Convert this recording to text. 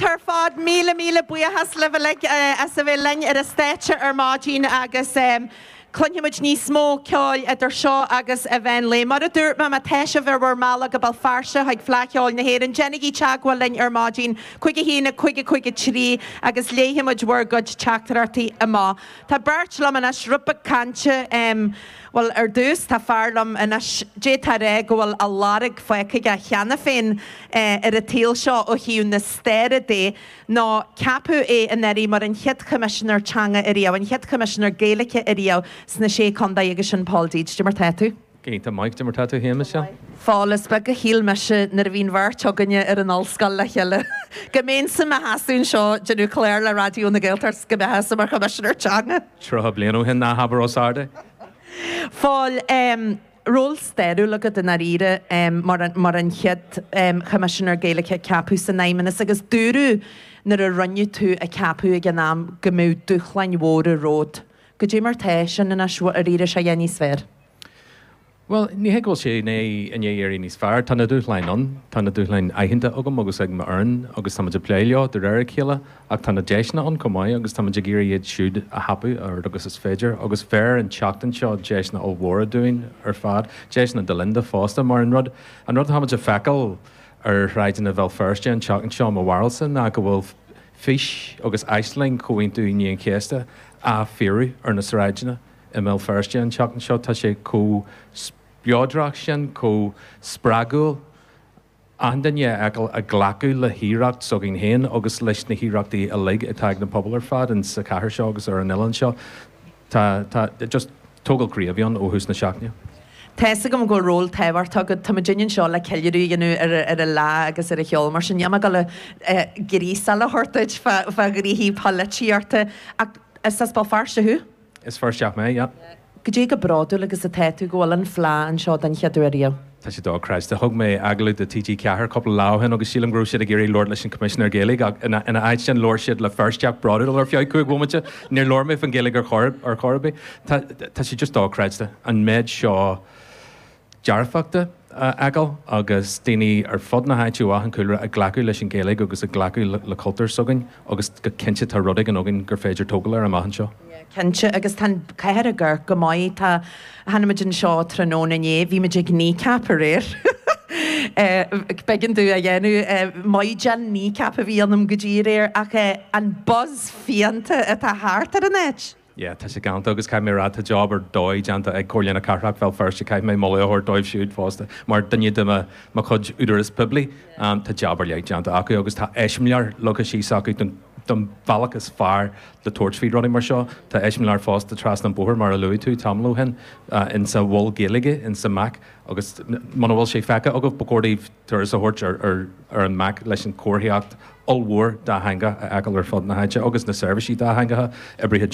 Galánta ar fad. Míle míle buíochas libh uilig as a bheith linn ar an stáitse ar maidin agus cluinfidh muid níos mó ceoil idir seo agus an mheán lae. Mar a dúirt mé, má tá sibh ar bhur mbealach go Béal Feirste chuig Fleadh Cheoil na hÉireann, déanaigí teagmháil linn ar maidin, 5 1 5 5 3 agus léifidh muid bhur gcuid teachtaireachtaí amach. Tá beirt liom anois, rud beag cainte, bhuel, ar dtús tá fear liom anois, d'fhéadfá a rá go bhfuil a lorg fágtha aige cheana féin ar an tsaol seo ó thaobh na staire de, nó ceapadh é anuraidh mar an chéad Choimisinéir Teanga ariamh, an chéad Choimisinéir Gaeilge ariamh sna Sé Contae agus sin Pól Deeds. Cad é mar tá tú? Go hiontach maith, cad é mar tá tú féin, Michelle? Phóil, is beag a shíl mise nuair a bhí an bheirt againne ar an ollscoil le chéile go mbeinnse i mo sheasamh anseo ag déanamh clár le Raidió na Gaeltachta 's go mbeifeása mar Choimisinéir Teanga. 30 bliain ó shin, ná habair os ard é. Phóil, ról stairiúil agat i ndáiríre mar an mar an chéad Choimisinéir Gaeilge a ceapadh san Fheidhmeannas agus dúradh nuair a rinneadh tú a cheapadh ag an am go mbeadh dúshláin mhóra romhat. Goidé mar tá sin anois, ar éirigh sé níos fearr? Bhuel, ní hé go bhfuil sé i ndiaidh éirí níos fearr. Tá na dúshláin ann. Tá na dúshláin aitheanta agam agus ag m'fhoireann agus táimid ag plé leo de réir a chéile. Ach tá na deiseanna ann chomh maith agus táimid ag iarraidh iad siúd a thapú a oiread agus is féidir. Agus bheir an tseachtain seo deiseanna ollmhóra dúinn ar fad. Deiseanna do Linda fosta mar an rud, an rud atáimid a feiceáil ar shráideanna Bhéal Feirste an tseachtain seo, mo bharúilsa, ná go bhfuil fís agus aisling Chomhaontú Aoine an Chéasta á fíorú ar na sráideanna. I mBéal Feirste an tseachtain seo tá sé chomh spleodrach sin, chomh spreagúil, achan duine a fheiceáil ag glacadh le hoidhreacht s'againn féin agus leis na hoidhreachtaí uilig atá ag na pobail ar fad in sa chathair seo agus ar an oileán seo. Tá, tá, just tógáil croí a bhí ann ó thús na seachtaine. Tá fhios agam go bhfuil ról tábhachtach agat. Tá muidinne anseo le ceiliúradh a dhéanamh ar ar an lá agus ar an cheol, mar sin níl mé ag dul gríosáil a thabhairt duit fá fá ghnoithí polaitíochta ach is as Béal Feirste thú? Is Feirsteach mé, yeah. Goidé chomh bródúil agus atá tú go bhfuil an Fleá anseo den chéad uair riamh? Tá sé dochreidte. Thug mé agallamh do TG4 cúpla lá ó shin agus sílim go raibh siad ag iarraidh labhairt leis an Coimisinéir Gaeilge ach ina áit sin labhair siad le Feirsteach bródúil ar feadh 5 bhomaite. Níor labhair mé faoin Ghaeilge ar chor ar chor ar bith. Tá tá sé just dochreidte an méid seo dearfachta a fheiceáil agus daoine ar fud na háite ó achan chúlra ag glacadh leis an Ghaeilge agus ag glacadh le cultúr s'againn agus go cinnte tá rud éigin againn gur féidir tógáil air amach anseo. Cinnte, agus tá an chathair ag amharc go maith. Tá, tháinig muid anseo tráthnóna inné, bhí muid ag Kneecap aréir. B'éigean domh a dhéanamh, maidhc Kneecap a bhí ionam go dtí aréir ach an buzz fiánta atá thart ar an áit. Yeah, tá sé galánta agus caithfidh mé a rá tá job ar dóigh déanta ag Comhairle na Cathrach Bhéal Feirste, caithfidh mé moladh a thabhairt dóibh siúd fosta mar duine de mo mo chuid údaras poiblí. Tá job ar leith déanta acu agus tá eiseamláir leagtha síos acu don don bhealach is fearr le tabhairt faoi rudaí mar seo. Tá eiseamláir fosta trasna an bóthar mar a luaigh tú tamall ó shin insa Mhol Gaeilge insa MAC agus muna bhfuil sé feicthe agaibh ba chóir daoibh turas a thabhairt ar ar an MAC leis an chomharthaíocht ollmhór dátheangach a fheiceáil ar fud na háite agus na seirbhísí dátheangacha oibrithe.